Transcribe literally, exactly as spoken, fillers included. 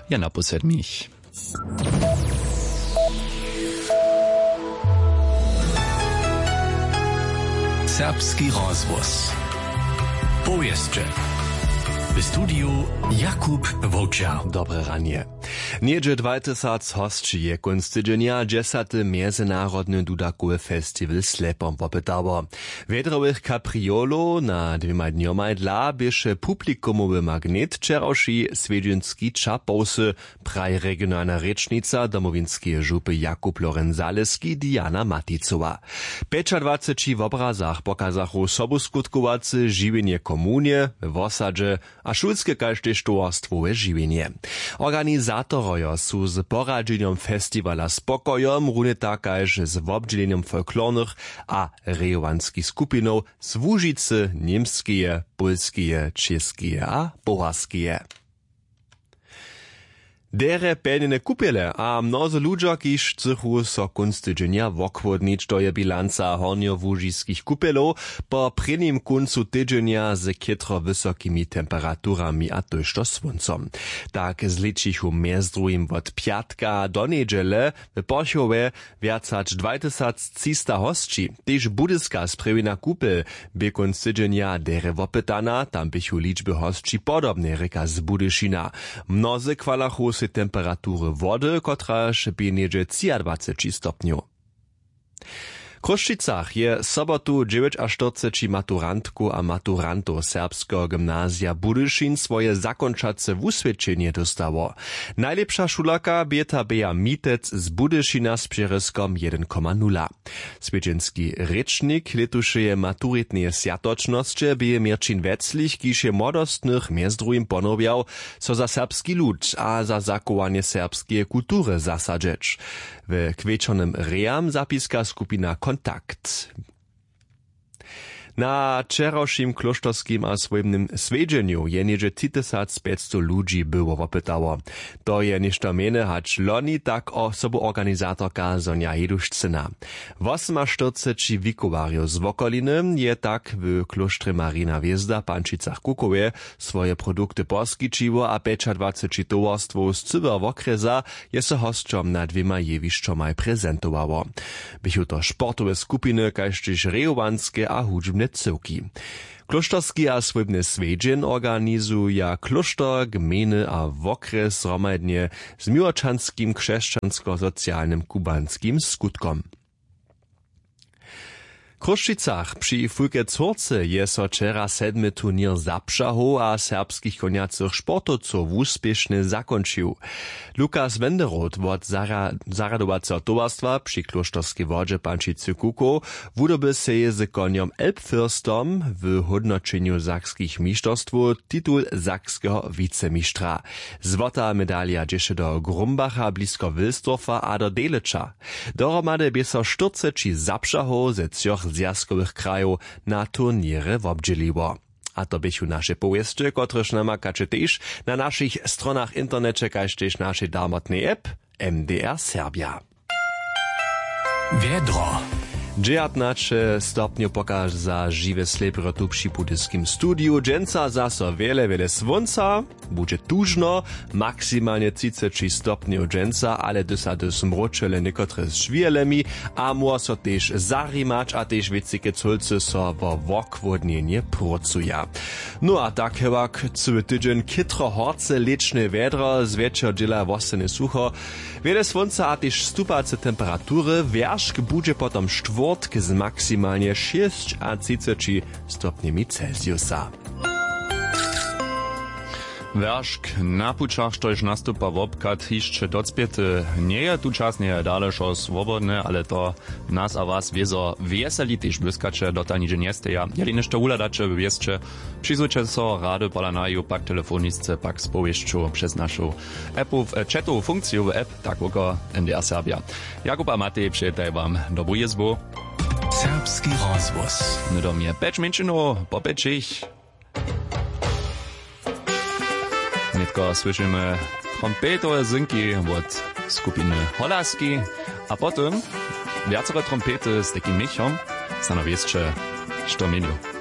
Ja, na pół sedmich. Serbski rozhłos. Powěsće. W studiju Jakub Wowčer. Dobre ranje. Něhdźe dwaj tysac hosći je kónc tydźenja dźesaty mjezynarodny dudakowy festiwal Slepom wopytało. Wjedrowych kapriolow na dwěmaj dnjomaj dla běše publikumowy magnet wčerawši swjedźenski Čapowsy, praji regionalna rěčnica Domowinskeje župy Jakub Lorenc-Zaleski Diana Maticowa. W pjećadwaceći wobrazach pokazachu sobuskutkowace žiwjenje w komunje, we wosadźe a šulske kaž tež towarstwowe žiwjenje. Organizatorojo su z poradźenjom festiwala spokojom runje tak kaž z wobdźělenjom folklornych a rejowanskich skupinow z Łužicy, Němskeje, Pólskeje, Čěskeje a Powarskeje. Derje pjelnjene kupjele a mnozy ludźo, kiž chcychu so kónc tydźenja wochłodnić, to je bilanca hornjołužiskich kupjelow po prěnim kóncu tydźenja z chětro wysokimi temperaturami a tójšto słóncom. Tak zlěčichu mjez druhim wot pjatka do njedźele w Porchowje wjac hač dwaj tysac třista hosći. Tež Budyska sprjewjena kupel bě kónc tydźenja derje wopytana, tam běchu ličby hosći podobne, rěka z Budyšina. Mnozy chwalachu sej temperatury wody, kotraž bě něhdźe třiadwaceći stopnjow. W Chrósćicach je sobotu dźewjećaštyrceći maturantkow a maturantow Serbskeho gymnazija Budyšin swoje zakónčace wuswědčenje dóstało. Najlěpša šulerka bě ta Bea Mitec z Budyšina z přěrězkom jedyn koma nula. Swjedźenski rěčnik lětušeje maturitneje swjatočnosće bě Měrćin Weclich, kiž je młodostnych mjez druhim ponowjał, so za serbski lud a za zachowanje serbskeje kultury zasadźeć. We kwječornym rejam zapiska skupina Kontakt. Na wčerawšim klóšterskim a swójbnym swjedźenju je něhdźe tři tysac pjećstow ludźi było wopytało. To je něšto mjene hač loni, tak o sobuorganizatorka Sonja Hedušcyna. Wosymaštyrceći wikowarjow z wokoliny je tak w klóštrje Marina Hwězda w Pančicach-Kukowje swoje produkty poskićiło a pjećadwaceći towarstwow z cyłeho wokrjesa je so hosćom na dwěmaj jewišćomaj prezentowało. Běchu to sportowe skupiny kaž tež rejowanske a hudźbne cyłki. Klóšterski a swójbny swjedźeń organizuja klóšter, gmejny a wokrjes zhromadnje z miłočanskim křesćanskosocialnym kubanskim skutkom. W Chrósćicach při Fulkec Hórce je so wčera sedmy turněr zapřahow a serbskich konjacych sportowcow wuspěšnje zakónčił. Lukas Wenderoth wot zarja-, zarjadowaceho towarstwa při klóšterskej wodźe Pančicy Kukow wudoby sej z konjom Elbfürstom w hódnoćenju sakskich mišterstwow titul sakskeho wicemištra. Złota medalija dźěše do Grumbacha blisko Wilsdorfa a do Delitzscha. Dohromady bě so štyrceći zapřahow ze třoch zwjazkowych krajow na turněrje wobdźěliło. A to běchu naše powěsće, kotrež namakaće tež na našich stronach w interneće kaž tež našej darmotnej app M D R Serbja. Wjedro. Dźewjatnaće stopnjow pokaza žiwe slěpro tu při budyskim studiju. Dźensa zaso wjele, wjele słónca. Budźe tužno, maksimalnje třiceći stopnjow dźensa, ale hdyž sa hdyž mróčele někotre z žwijelemi a móhło so tež zarimać a tež wěcike cólcy so wo wochłódnjenje prócuja. No a tak hewak cyły tydźeń chětro horce lěčne wjedro, zwjetšer dźěla wostanje sucho, wjele słónca a tež stupace temperatury. Wjeršk budźe potom štwórtk z maksimalnje šěsćatřiceći stopnjemi Celsiusa. Wjeršk na pućach, štož nastupa wobchad hišće docpěty njeje. Tučasnje je dale wšo swobodne, ale to nas a was wězo wjeseli, tež błyskaće dotal nihdźe njesteja. Jeli něšto wuhladaće we wěsće, přizwójće so rady pola naju, pak telefonisce, pak z powěsću přez našu appu, w, e, chatowu funkciju w app, tak woko M D R Serbja. Jakub a Matej přejetaj wam dobru jězbu. Serbski rozhłos. Hnydom je pjeć mjeńšinow po pjećich. Nětko słyšimy trompetowe zynki wot skupiny Holaski a potom wjacore trompety z takim měchom. Stano wěsće, što měnju.